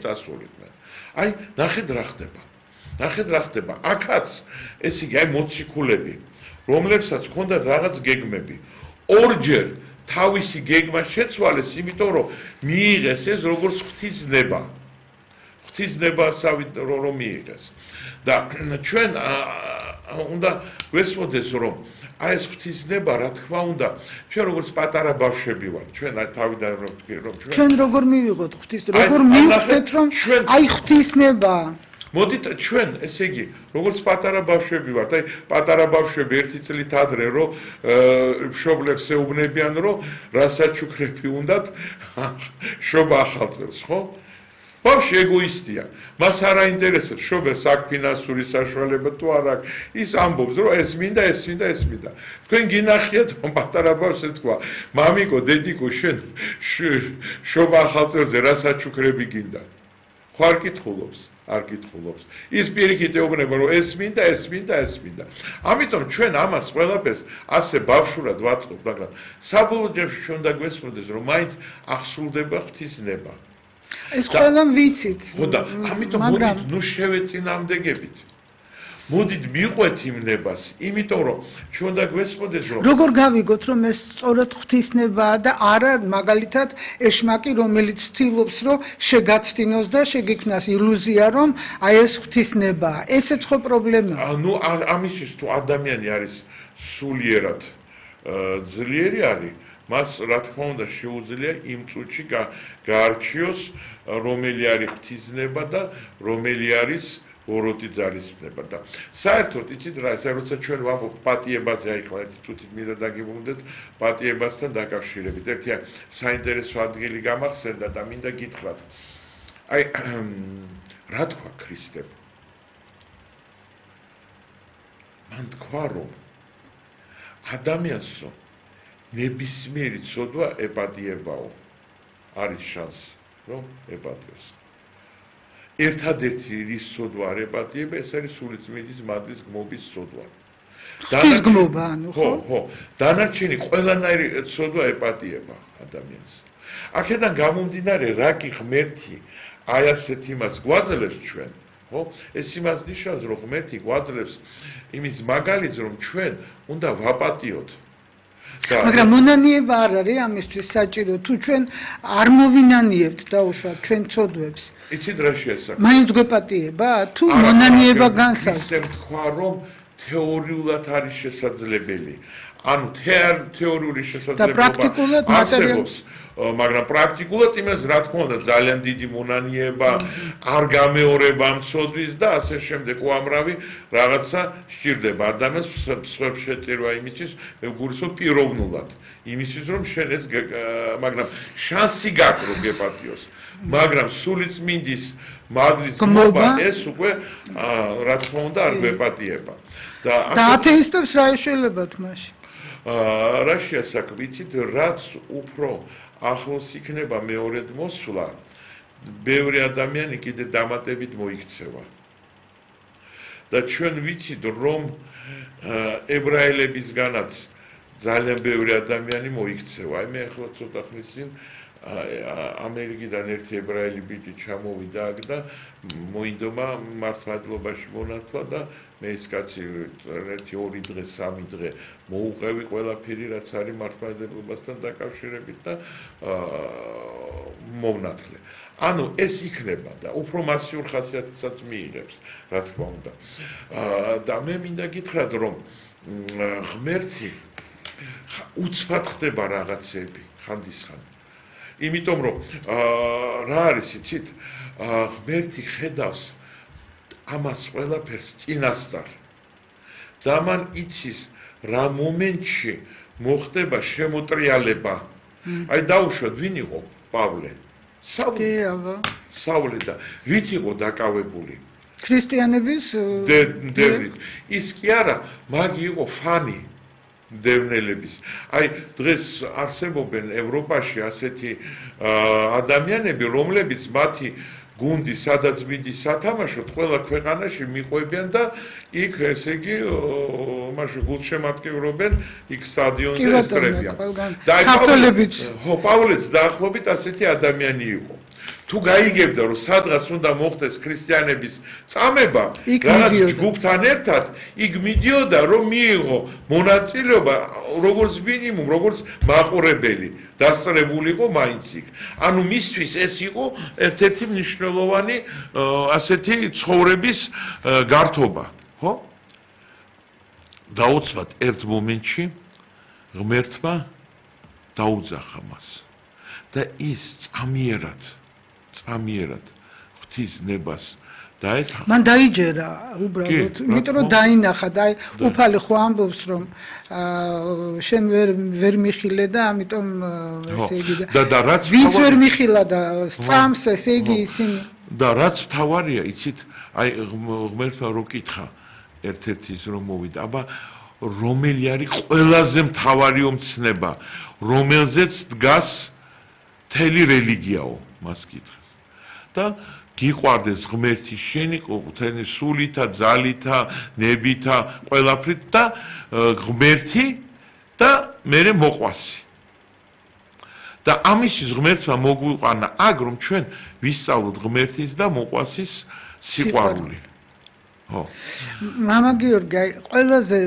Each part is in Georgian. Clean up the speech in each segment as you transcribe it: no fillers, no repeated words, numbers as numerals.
წასულიყვნენ. აი, ნახეთ რა ხდება. ნახეთ რა ხდება. აქაც ეს იგი აი მოციქულები, რომლებსაც ჰქონდათ რაღაც გეგმები, ორჯერ თავისი გეგმა შეცვალეს, იმიტომ რომ მიიღეს ეს როგორც ღვთისნება. ღვთისნებასავით რომ მიიღეს. და ჩვენ უნდა ვესმოდეს რომ აი ეს ღვთისნება რა თქმა უნდა ჩვენ როგორც პატარა ბავშვები ვართ ჩვენ თავიდან რომ ვთქვი რომ ჩვენ როგორ მივიღოთ როგორ მივხვდეთ რომ აი ღვთისნება მოდით ჩვენ ესე იგი როგორც პატარა ბავშვები ვართ აი პატარა ბავშვები ერთი წლით ადრე რომ მშობლებს ეუბნებიან რომ რასაჩუქრები უნდათ შობა ახალ წელს ხო ბავშვი ეგოისტია მას არ აინტერესებს შობელს აქ ფინანსური საშუალება თუ არ აქვს ის ამბობს რომ ეს მინდა თქვენ გინახიათ რომ პატარა ბავშვს ეთქვა მამიკო დედიკო შენ შობა ახალ წელზე რასაჩუქრები გინდა ხო არ კითხულობს არ კითხულობს ის პირიქით ეუბნება რომ ეს მინდა ამიტომ ჩვენ ამას ყველაფერს ასე ბავშვურად ვაწყობთ მაგრამ საბოლოო ჯამში ჩვენ უნდა გვესმოდეს რომ მაინც აღსრულდება ღვთისნება ეს ყველა ვიცით. ხო და ამიტომ მოდით ნუ შევეწინააღმდეგებით. მოდით მიყვეთ იმ ნებას, იმიტომ რომ ჩვენ უნდა გვესმოდეს რომ როგორ გავიგოთ რომ ეს სწორად ღვთისნებაა და არა მაგალითად ეშმაკი რომელიც ცდილობს რომ შეგაცდინოს და შეგექმნას ილუზია რომ აი ეს ღვთისნებაა. ესეც ხო პრობლემაა. ნუ ამისთვის თუ ადამიანი არის სულიერად ძლიერი არის მას რა თქმა უნდა შეუძლია იმ წუთში გაარჩიოს რომელი არის ღვთისნება და რომელი არის ოროთი ძალისნება და საერთოდ იცით რა ეს როცა ჩვენ ვამბობთ პატიებაზე აი ხლა ერთი წუთით მინდა დაგიბრუნდეთ პატიებასთან დაკავშირებით ერთი საინტერესო ადგილი გამახსენდა და მინდა გითხრათ აი რა თქვა ქრისტემ მან თქვა რომ ადამიანსო ნებისმიერი ცოდვა ეპატიებაო არის შანსი რომ ეპატიოს ერთადერთი რის ცოდვა არ ეპატიება ეს არის სულიწმიდის მადლის გმობის ცოდვა გმობა ანუ ხო დანარჩენი ყველანაირი ცოდვა ეპატიება ადამიანს აქედან გამომდინარე რა კი ღმერთი აი ასეთ იმას გვაძლევს ჩვენ ხო ეს იმას ნიშნავს რომ ღმერთი გვაძლევს იმის მაგალითს რომ ჩვენ უნდა ვაპატიოთ მაგრამ მონანიება არ არის ამისთვის საჭირო თუ ჩვენ არ მოვინანიებთ დაუშვათ ჩვენ ცოდვებს იცით რა შეასახა მაინც გვეპატიება თუ მონანიება განსაზღვრავს ისე თქვა რომ თეორიულად არის შესაძლებელი ანუ თეორიული შესაძლებლობა არსებობს მაგრამ პრაქტიკულად იმას რა თქმა უნდა ძალიან დიდი მონანიება არ გამეორება მცოდვის და ასე შემდეგ უამრავი რაღაცა სჭირდება ადამიანს სხვებს შეწირვა იმისთვის მეგურისო პიროვნულად იმისთვის რომ შენ ეს მაგრამ შანსი გაქვს რომ გეპატიოს მაგრამ სულიწმინდის მადლის გმობა ეს უკვე რა თქმა უნდა არ გვეპატიება და ათეისტებს რა ეშელებათ მაშინ რა შეასაქმე ვიცით რაც უფრო ახლოს იქნება მეორედ მოსვლა ბევრი ადამიანი კიდე დამატებით მოიქცევა და ჩვენ ვიცით რომ ებრაელებისგანაც ძალიან ბევრი ადამიანი მოიქცევა აი მე ახლა ცოტა ხნის წინ ამერიკიდან ერთი ებრაელი ბიჭი ჩამოვიდა აქ და მოინდომა მართლმადიდებლობაში მონათლა და მე ეს კაცი ერთი 2 დღე 3 დღე მოუყევი ყველაფერი რაც არის მართლმადიდებლობასთან დაკავშირებით და მოვნათლე ანუ ეს იქნება და უფრო მასიურ ხასიათსაც მიიღებს რა თქმა უნდა და მე მინდა გითხრათ რომ ღმერთი უცბად ხდება რაღაცები ხანდისხან იმიტომ რომ რა არის იცით ღმერთი ხედავს ამას ყველაფერს წინასწარ და მან იცის რა მომენტში მოხდება შემოტრიალება აი დაუშვათ ვინ იყო პავლე საულე და ვით იყო დაკავებული ქრისტიანების დევნით ის კი არა მაგი იყო ფანი დევნელების აი დღეს არსებობენ ევროპაში ასეთი ადამიანები რომლებიც მათი გუნდი სადაც მიდის სათამაშოდ ყველა ქვეყანაში მიყვებიან და იქ ესე იგი მაშინ გულშემატკივრობენ იქ სტადიონზე ესწრებიან და აი პავლეც დაახლოებით ასეთი ადამიანი იყო თუ თუ გაიგებდა რომ სადღაც უნდა მოხდეს ქრისტიანების წამება იქ რაღაც მიდიოდა. ჯგუფთან ერთად იქ მიდიოდა რომ მიიღო მონაწილეობა როგორც მინიმუმ როგორც მაყურებელი დასწრებულიყო მაინც იქ ანუ მისთვის ეს იყო ერთ-ერთი მნიშვნელოვანი ასეთი ცხოვრების გართობა ხო დაუცბად ერთ მომენტში ღმერთმა დაუძახა მას და ის წამიერად ღვთის ნებას დაეთხა მან დაიჯერა უბრალოდ იმიტომ რომ დაინახა და უფალი ხო ამბობს რომ შენ ვერ მიხილე და ამიტომ ესე იგი და რაც ვინც ვერ მიხილა და სწამს ესე იგი ისინი და რაც თავარია იცით აი ღმერთმა რო კითხა ერთ-ერთი ის რომ მოვიდა აბა რომელი არის ყველაზე მთავარი ომცნება რომელზეც დგას მთელი რელიგიაო მას კითხეს და გიყვარდეს ღმერთი შენი ყოველთვიანი სულითა, ძალითა, ნებითა, ყველაფრით და ღმერთი და მერე მოყვასი. და ამისთვის ღმერთმა მოგვიყვანა აგ რომ ჩვენ ვისწავლოთ ღმერთის და მოყვასის სიყვარული. ხო. მამა გიორგი, ყველაზე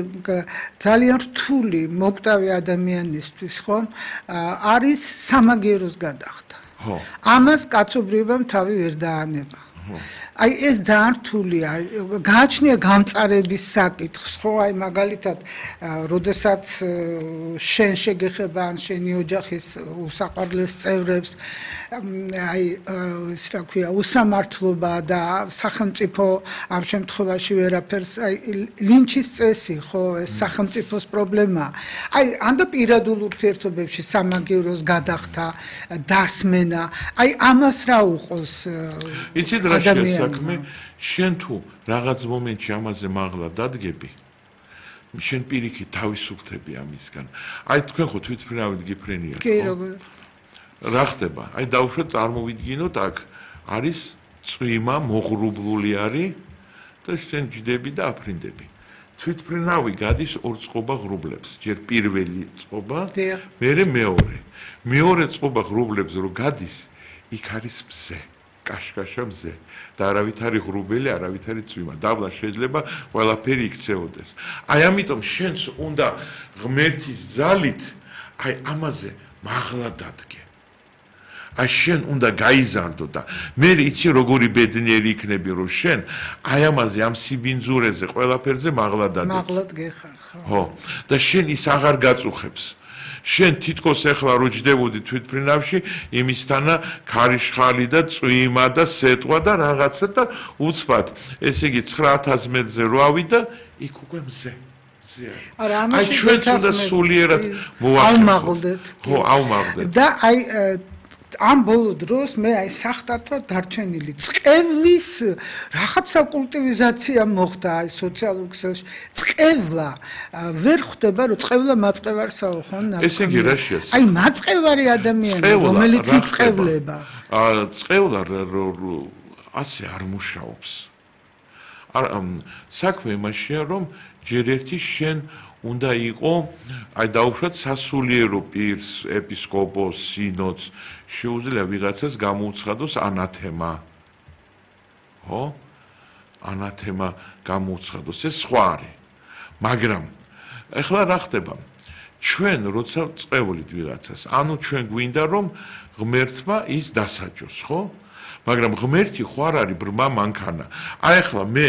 ძალიან რთული მოკვდავი ადამიანისთვის ხომ არის სამაგიეროს გადახდა. ხო. ამას კაცობრიობამ თავი ვერ დაანება. აი ეს ძალიან რთულია. გააჩნია გამწარების საკითხს, ხო, აი მაგალითად, როდესაც შენ შეგეხება ან შენი ოჯახის უსაყვარლეს წევრებს, აი ეს რა ქვია, უსამართლობა და სახელმწიფო ამ შემთხვევაში ვერაფერს, აი ლინჩის წესი, ხო, ეს სახელმწიფოს პრობლემაა. აი ანდა პირადულ ურთიერთობებში სამაგიეროს გადახდა, დასმენა, აი ამას რა უყოს იცით რა შესაქმე შენ თუ რაღაც მომენტში ამაზე მაღლა დადგები შენ პირიქით თავისუფლდები ამისგან აი თქვენ ხო თვითმფრინავით გიფრენიათ კი როგორ რა ხდება აი დავუშვათ წარმოვიდგინოთ აქ არის წვიმა მოღრუბლული არის და შენ ჯდები და აფრინდები თვითმფრინავი გადის ორ წყობა ღრუბლებს ჯერ პირველი წყობა მერე მეორე წყობა ღრუბლებს რო გადის იქ არის მზე კაშკაშა მზე და არავით არის ღრუბელი, არავით არის წვიმა. დაბლა შეიძლება ყველაფერი იქცეოდეს. აი ამიტომ შენს უნდა ღმერთის ძალით აი ამაზე მაღლა დადგე. აი შენ უნდა გაიზარდო და მე იცი როგორი ბედნიერი იქნები რომ შენ აი ამაზე ამ სიბინძურეზე ყველაფერზე მაღლა დადგე. მაღლად გეხარ ხო? ხო. და შენ ის აღარ გაწუხებს. შენ თითქოს ახლა რო ჯდებოდი თვითმფრინავში იმისთანა ქარიშხალი და წვიმა და სეტყვა და რაღაცა და უცბად ესე იგი 9000 მეტრზე რო ავიდა იქ უკვე მზე არა ამაში აი ჩვენც უნდა სულიერად ავმაღლდეთ ხო ავმაღლდეთ და აი ამ ბოლო დროს მე აი სახტად ვარ დარჩენილი წყევლის რაღაცა კულტივიზაცია მოხდა აი სოციალურ ქსელში წყევლა ვერ ხვდება რომ წყევლა მაწყევარსაო ხო ესე იგი რა შეასრულა აი მაწყევარი ადამიანი რომელიც იწყევლება წყევლა ასე არ მუშაობს საქმე იმაშია რომ ჯერ ერთი შენ უნდა იყო აი დაუშვათ სასულიერო პირს ეპისკოპოსს სინოდს შეუძლია ვიღაცას გამოუცხადოს ანათემა ხო ანათემა გამოუცხადოს ეს სხვა არის მაგრამ ეხლა რა ხდება ჩვენ როცა წევლით ვიღაცას ანუ ჩვენ გვინდა რომ ღმერთმა ის დასაჯოს ხო მაგრამ ღმერთი ხო არ არის ბრმა მანქანა აი ეხლა მე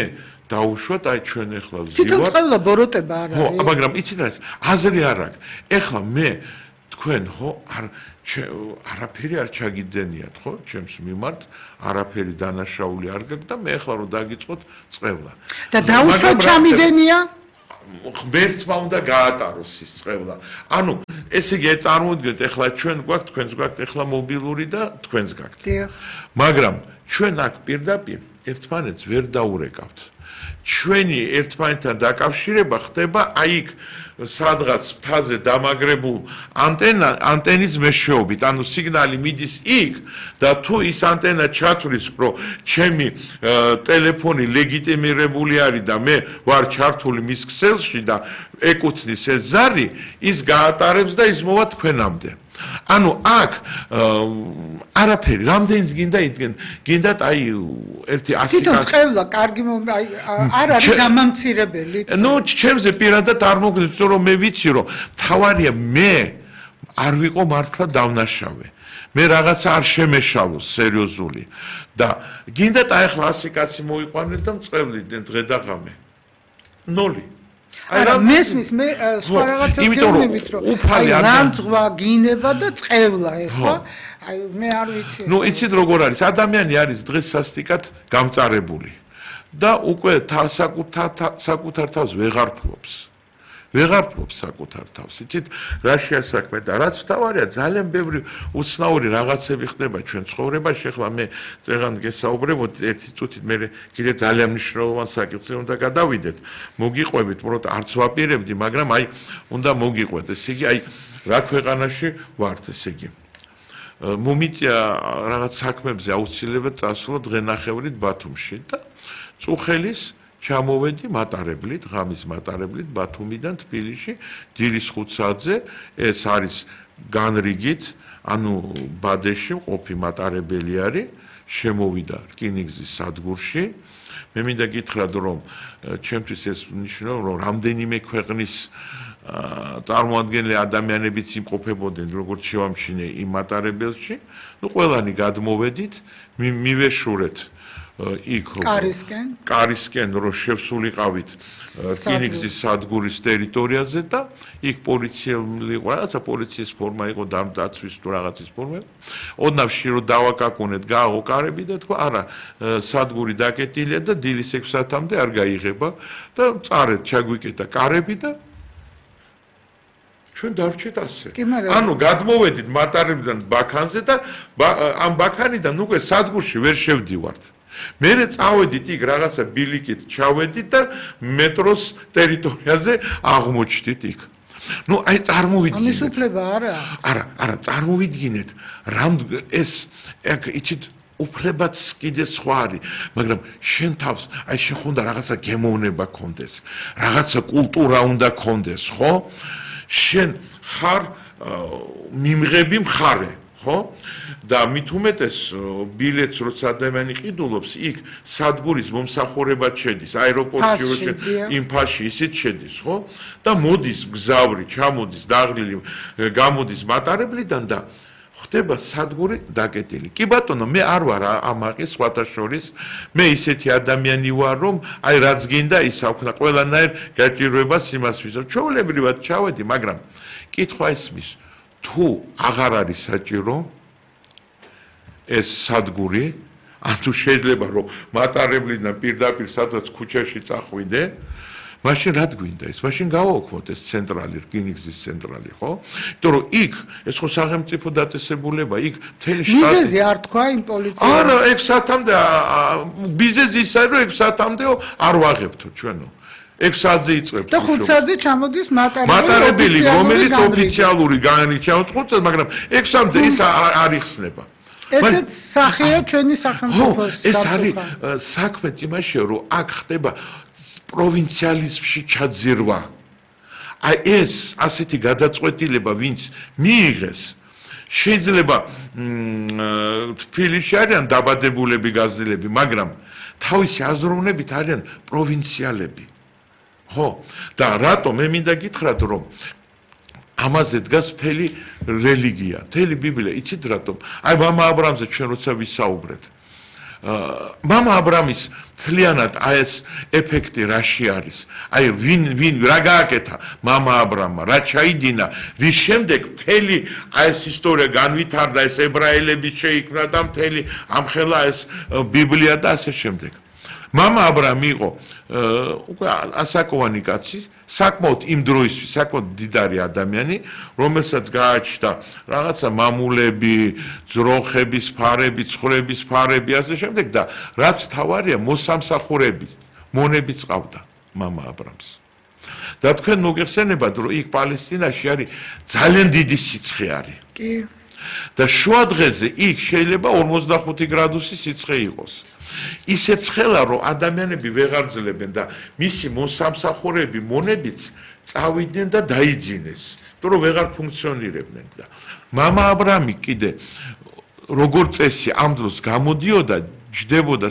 დაუშვათ აი ჩვენ ეხლა თვითონ წევლა ბოროტება არ არის ხო მაგრამ იცით რა აზრი არ აქვს ეხლა მე თქვენ ხო არაფერი არ ჩაგიძენიათ ხო ჩემს მიმართ არაფერი დანაშაული არ გაქვს და მე ეხლა რომ დაგიწყოთ წევლა და დაუშვათ ჩამიდენია ღმერთმა უნდა გაატაროს ის წევლა ანუ ესე იგი წარმოვიდგინეთ ეხლა ჩვენ გვაქვს თქვენს გვაქვს ეხლა მობილური და თქვენს გაქვთ მაგრამ ჩვენ აქ პირდაპირ ერთმანეთს ვერ დაურეკავთ ჩვენი ერთმანეთთან დაკავშირება ხდება აი იქ სადღაც მთაზე დამაგრებულ ანტენის მეშვეობით ანუ სიგნალი მიდის იქ და თუ ის ანტენა ჩათვლის რომ ჩემი ტელეფონი ლეგიტიმირებული არის და მე ვარ ჩართული მის ქსელში და ეკუთვნის ეს ზარი ის გაატარებს და ის მოვა თქვენამდე ანუ აქ არაფერი რამდენიც გინდათ აი ერთი 100 თვითონ წევლა კარგი არ არის გამამცირებელი. ნუ ჩემზე პირადად არ მოგდებს რომ მე ვიცი რომ თავარია მე არ ვიყო მართლა დავნაშავე. მე რაღაცა არ შემეშალოს სერიოზული და გინდათ აი ახლა 100 კაცი მოიყვანეთ და მწყევლიდნენ დღე და ღამე. 0 არა მესმის მე სხვა რაღაცას გეუბნებით რომ ლანძღვა გინება და წყევლა ეხლა აი მე არ ვიცი ნუ იცით როგორ არის ადამიანი არის დღეს სასტიკად გამწარებული და უკვე საკუთარ თავს ვეღარ ფლობს საკუთარ თავს იცით რა შეასაქმე და რაც თავარია ძალიან ბევრი უცნაური რაღაცები ხდება ჩვენ ცხოვრებაში ახლა მე წეგან გესაუბრებოდ ერთი წუთით მე კიდე ძალიან მნიშვნელოვან საკითხზე უნდა გადავიდეთ მოგიყვებით უბრალოდ არც ვაპირებდი მაგრამ აი უნდა მოგიყვეთ ესე იგი აი რა ქვეყანაში ვართ ესე იგი მომიწია რაღაც საქმებზე აუცილებლად წასვლა დღენახევრით ბათუმში და წუხელის ჩამოვედი მატარებლით, ღამის მატარებლით ბათუმიდან თბილისში, დილის 5 საათზე, ეს არის განრიგით, ანუ ბადეში მყოფი მატარებელი არის, შემოვიდა რკინიგზის სადგურში. მე მინდა გითხრათ, რომ ჩემთვის ეს ნიშნავს, რომ რამდენიმე ქვეყნის წარმოადგენელი ადამიანებიც იმყოფებოდნენ, როგორც შევამჩნიე იმ მატარებელში. ნუ ყველანი გადმოვედით, მივეშურეთ იქ კარისკენ რომ შევსულიყავით რკინიგზის სადგურის ტერიტორიაზე და იქ პოლიციელი იყო რაღაცა პოლიციის ფორმა იყო დაცვის თუ რაღაცის ფორმა ოდნავ რომ დავაკაკუნეთ გააღო კარები და თქვა არა სადგური დაკეტილია და დილის 6 საათამდე არ გაიღება და წარეთ ჩაგვიკეტა კარები და ჩვენ დავრჩეთ ასე ანუ გადმოვედით მატარებლიდან ბაქანზე და ამ ბაქანიდან უკვე სადგურში ვერ შევდივართ მერე წავედით იქ რაღაცა ბილიკით ჩავედით და მეტროს ტერიტორიაზე აღმოჩნდით იქ. ნუ აი წარმოვიდგინეთ. ამის უფლება არა. არა, წარმოვიდგინეთ, რამ ეს იცით უფლებაც კიდე სხვა არის, მაგრამ შენ თავს აი შენ ხონდა რაღაცა გემოვნება გქონდეს, რაღაცა კულტურა უნდა გქონდეს, ხო? შენ ხარ მიმღები მხარე ხო? და მით უმეტეს ბილეთს როცა ადამიანი ყიდულობს, იქ სადგურის მომსახურებად შედის, აეროპორტში იმ ფასში ისიც შედის, ხო? და მოდის გზავრი, ჩამოდის დაღლილი, გამოდის მატარებლიდან და ხდება სადგური დაკეტილი. კი ბატონო, მე არ ვარ ამაყი სხვათა შორის, მე ისეთი ადამიანი ვარ, რომ აი რაც გინდა ის აქვნა ყველანაირ გაჭირვებას იმას ვიზავ. ჩვეულებრივად ჩავედი, მაგრამ კითხვა ისმის თუ აღარ არის საჭირო ეს სადგური, ანუ შეიძლება რომ მატარებლიდან პირდაპირ სადაც ქუჩაში წახვიდე, მაშინ რა გვინდა ეს? მაშინ გავაოქმოთ ეს ცენტრალი, რკინიგზის ცენტრალი, ხო? იმიტომ რომ იქ ეს ხო სახელმწიფო დაწესებულება, იქ მთელი შტატი. ბიზნესი არ თქვა იმ პოლიციამ. არა, 6 საათამდე ბიზნესი ის არის, რომ 6 საათამდე არ ვაღებთო ჩვენო. 6 საათზე იწყებს. და 5 საათზე ჩამოდის მატარებელი, რომელიც ოფიციალური განრიგით, მაგრამ 6 საათამდე ის არ იხსნება. ესეც სახეა ჩვენი სახელმწიფოს. ეს არის საქმეც იმაშია, რომ აქ ხდება პროვინციალიზმში ჩაძირვა. აი ეს ასეთი გადაწყვეტილება, ვინც მიიღეს, შეიძლება თბილისში არიან დაბადებულები გაზრდილები, მაგრამ თავისი აზროვნებით არიან პროვინციალები. ხო? და რატომ მე მინდა გითხრათ, რომ ამაზე დგას მთელი რელიგია, მთელი ბიბლია, იცით რატომ? აი მამა აბრამზე ჩვენ როცა ვისაუბრეთ. მამა აბრამის მთლიანად აი ეს ეფექტი რაში არის? აი ვინ რა გააკეთა მამა აბრამმა, რა ჩაიდინა, რის შემდეგ მთელი აი ეს ისტორია განვითარდა, ეს ებრაელები შეიქმნა და მთელი ამხელა ეს ბიბლია და ასე შემდეგ. მამა აბრამი იყო უკვე ასაკოვანი კაცი, საკმაოდ იმ დროისთვის, საკმაოდ დიდარი ადამიანი, რომელსაც გააჩნდა რაღაცა მამულები, ძროხების ფარები, ცხვრების ფარები, ასე შემდეგ და რაც თავარია მოსამსახურები, მონებიც ყავდა მამა აბრამს. და თქვენ მოგეხსენებათ, რომ იქ პალესტინაში არის ძალიან დიდი სიცხე არის. კი. და შუა დღეზე იქ შეიძლება 45 გრადუსი სიცხე იყოს. ისე ცხელა რომ ადამიანები ვეღარ ძლებენ და მისი მოსამსახურეები მონებიც წავიდნენ და დაიძინეს, იმიტომ რომ ვეღარ ფუნქციონირებდნენ და მამა აბრამი კიდე როგორც წესი ამ დროს გამოდიოდა ჯდებოდა